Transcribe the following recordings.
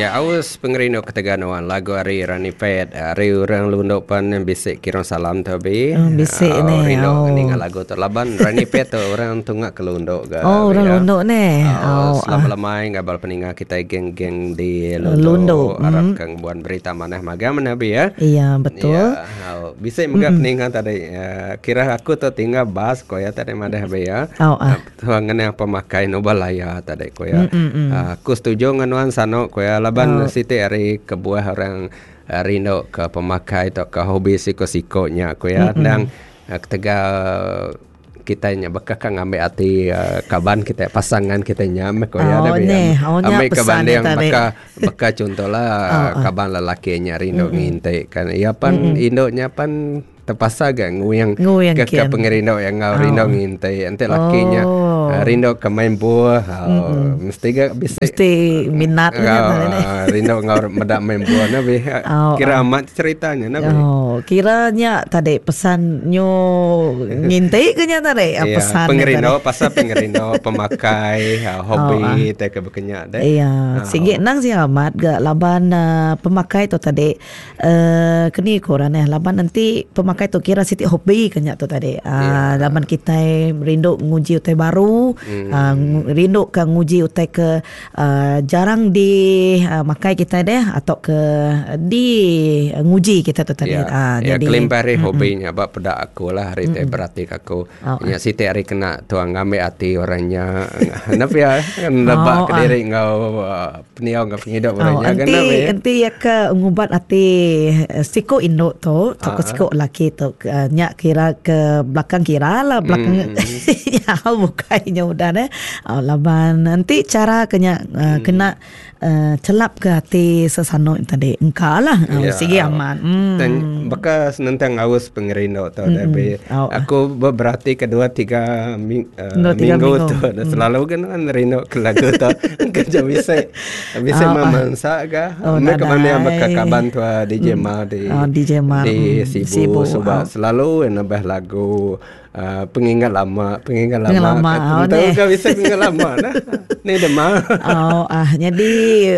Ya aus pengerindu ketegal nuan lagu ari Rani Fed ari orang Lundu pan bisi kirum salam tu bi. Oh, bisi oh, ne. Rindu oh. ninga lagu tu laban Rani Fed tu orang tunga ke Lundu ga. Oh, orang ya. Lundu ne. Oh, oh selamat ah. lemai ngabal peninga kita geng-geng di Lundu. Lundu. Arap Mm. ke ngembuan berita manah magang mana bi ya. Iya, betul. Ya, oh, bisi mega peninga tadi uh, kira aku tu tinggal bas ko ya tadi madah bi ya. Oh, ah. Tuha ngena pemakai nuba laya tadi ku iya. Aku setuju enggau nuan sanu ku iya laban siti ari kebuah orang rindu ke pemakai tauka hobi siko-siko nya ku iya endang ketegal kitai nya baka ka ngambi ati kaban kitai pasangan kitai nya meh ku iya Ambi ke banding baka baka chuntolah kaban lelaki nya rindu nginti kan iya pan indu nya pan Tepasa ga nguing Nguing ke ke kin. pengerindu iya enggau rindu Oh. nginti. Enti laki nya Oh. ah, rindu ke main buah ah, mesti ga bisi Mesti minat nya enggau tadi neh. ah, rindu enggau meda main buah nah bih. Oh, Kira ah. amat cerita nya nah bih. Oh, kira nya tadi pesan nyu nginti ke nya tadi ah, Iya, pesan nya tadi. pengerindu pasal pengerindu pemakai ah, Oh, ah. hobi tai ke baka nya deh. Iya, Ah. sigi endang sigi amat ga laban ah, pemakai tu tadi Uhh keni ku orang neh laban enti pemakai tu kira siti hobi ke nya tu tadi uhh laban kitai rindu nguji utai baru uhh rindu ka nguji utai ke uhh jarang di makai kitai deh atau ke di nguji kitai tu tadi Ya, uhh ya jadi kelimpah ari hobi nya ba peda aku lah ari ti berati ka aku nya siti ari kena tuang ngambi ati orang nya enda pia nebak kediri enggau Pendiau enggau pengidup orang Oh, nya enti kena meh. enti iya ke ngubat ati siku indu tu tauka siku lelaki tu nya kira ke belakang kira lah belakang nya bukai nya udah neh. Laban enti chara ke nya kena chelap ke ati sesanu tadi engka lah sigi amat. Tang baka senentang aus pengerindu tu deh aku beberati ke dua tiga minggu tu selalu ga nuan rindu ke lagu tu keja bisi bisi oh, memansa ga oh, me ke mana baka kaban tua DJ Ma di oh, DJ Ma di Sibu, Sibu suba oh. selalu nambah lagu uh, pengingat lama pengingat lama, lama. Oh, tahu ka bisi pengingat lama nah ni dema oh ah jadi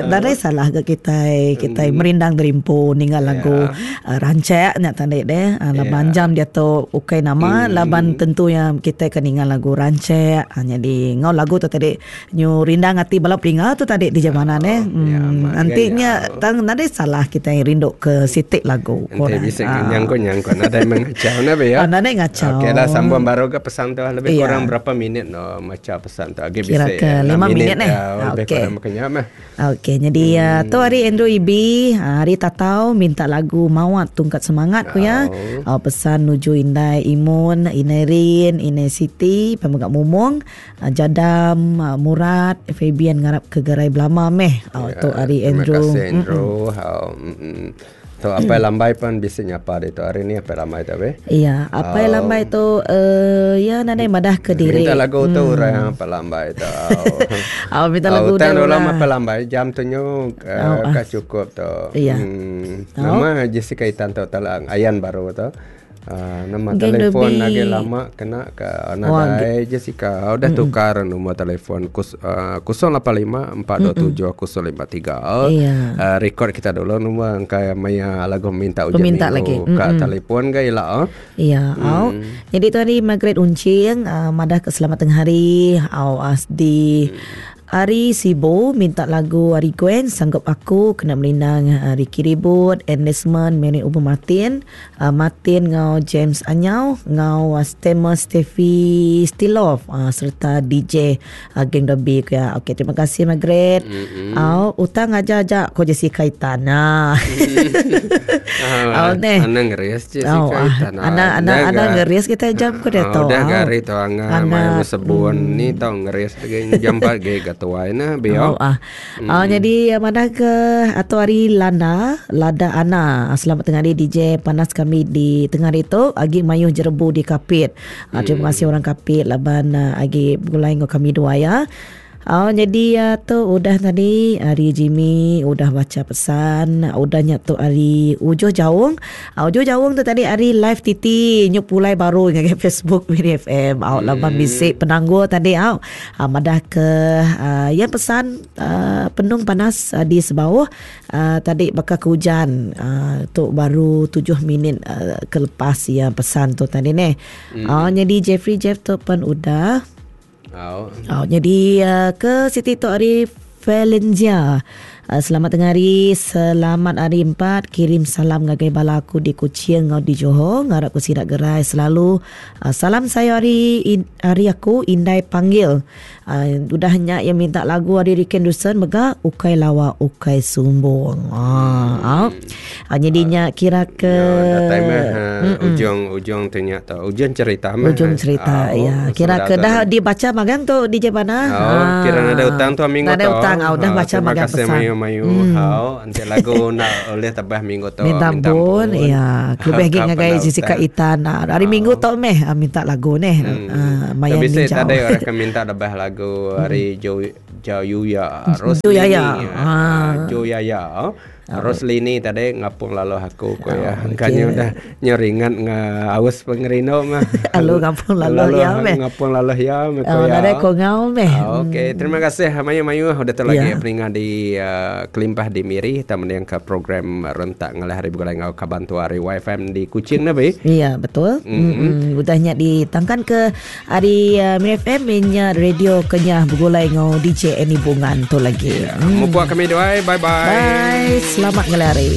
nadai salah ga kitai kitai merindang derimpu ninga lagu yeah. Rancak nya tadi deh laban yeah. jam diatu ukai nama mm. laban tentu ya kitai ke ninga lagu rancak jadi ngau lagu tu tadi nyu rindang ati bala peninga tu tadi di jamana oh, deh. Mm. Yeah, Nanti nya tang nadai salah kitai rindu ke siti lagu. Nanti bisa uh. nyangkut nyangkut nadai mengacau na be ya. Uh, nadai ngacau. Okey lah sambung baru ke pesan tu lebih yeah. kurang berapa minit no maca pesan tu. Agi bisa. Kira ke 5 minit eh. Ya, lebih okay. kurang makanya mah. Okey, nyadi uh, tu hari Andrew Ibi, ah, hari Tatau minta lagu Mawat Tungkat Semangat ku ya. Oh. pesan nuju Indai Imun, Inai Rin, Inai Siti, Pemegak Mumung, uh, Jadam, uh, Murad, Fabian ngarap ke gerai belama meh. Oh, Ya, tu hari terima Andrew. kasih Andrew. Mm-mm. Mm-mm. Tu apai lambai pun bisi nyapa ditu hari ni apai lambai tu be. Iya, apai oh. lambai tu uh, ya nadai madah ke diri. Minta lagu tu hmm. orang apai lambai tu. Oh, minta lagu oh, tang dulu apai lambai jam tu nyu uh, oh, ka cukup tu. Iya. Hmm. Nama Jessica Itan tu talang ayan baru tu. Uh, nama Geng telefon lagi lama kena ke nadai Jessica udah tukar nombor telefon kus, uh, 085 427 053. Iya. Uh, record kita dulu nombor angka maya lagu minta ujian Peminta minggu lagi. ka telefon ga ila oh. Iya, au. Jadi tu hari Margaret Uncing uh, madah ke selamat tengah hari au as di Ari Sibu minta lagu ari Gwen Sanggup Aku kena merindang Ricky Ribut, Ann Desmond, Mary Ubu Martin, Martin enggau James Anyau enggau Stemer Steffi Stilov sereta DJ Geng Dobi ku iya. Okey terima kasih Margaret. Au utang aja aja ko Jessica Itan. Ha. Au neh. Anang ngeris Jessica Itan. Anang anang anang ngeris kitai jam ku diatu. Udah gari tu angan mai besebun ni tau ngeris. Agi jampat agi ga tuai nah bio. Oh ah. Mm. Oh jadi madah ke atau hari Lana, Lada Ana. Selamat tengah hari DJ panas kami di tengah hari tu agi mayuh jerebu di Kapit. Mm. Terima kasih orang Kapit laban agi begulai enggau kami dua ya. Oh, jadi uh, tu udah tadi hari Jimmy udah baca pesan, udah nya tu hari Ujuh Jaung. Uh, Ujuh Jaung tu tadi hari live titi nyu pulai baru ngagai Facebook Miri FM. Au laban bisi penanggul tadi au. Uh, madah ke uh, yang pesan uh, penung panas uh, di sebauh uh, tadi baka ke hujan. Uh, tu baru 7 minit uh, ke lepas ya pesan tu tadi neh. Hmm. Uh, jadi Jeffrey Jeff tu pen udah. Au. Oh, jadi uh, ke Siti tu hari Valenzia. Selamat tengah hari, selamat hari empat. Kirim salam ngagai bala aku di Kuching ngau di Johor. Ngarap ku sida gerai selalu. Salam saya hari hari aku indai panggil. Udah nya iya minta lagu ari Riken Dusen mega ukai lawa ukai sumbung. Ah, uh, jadi nya kira ke ya, datai meh ujung ujung tu nya tu. Ujung cerita meh. Ujung cerita oh, ya. Kira ke dah dibaca magang tu DJ Pana. Oh, kira ada utang tu minggu tu. Ada utang au dah baca magang pesan. Terima kasih mayu mayu. Hmm. Hau enti lagu nak oleh tabah minggu tu. Minta ampun ya. Kelebih lagi ngagai Jessica Itan. Hari minggu tu meh minta lagu neh. Hmm. Maya ni jauh. Tadi orang ke minta lebih lagu hari Jo Jayuya Roslini. Ha. Joyaya. Roslini tadi ngapung lalu aku ko ya. Kanya udah nyeringat nga aus pengerindu mah. Lalu ngapung lalu ya meh. Ngapung lalu ya meh ko ya. Nadai ko ngau meh. Okey, terima kasih mayu-mayu udah tu lagi peninga di kelimpah di Miri ta mending ke program rentak ngalih hari begulai enggau kaban tua ari YFM di Kuching ne be. Ya, betul. Hmm. Udah nya ditangkan ke Ari uh, Miri FM nya radio kenyah begulai ngau DJ Annie Bungan tu lagi. Yeah. Hmm. Mupuak kami duai. Bye bye. Bye. Selamat ngelari.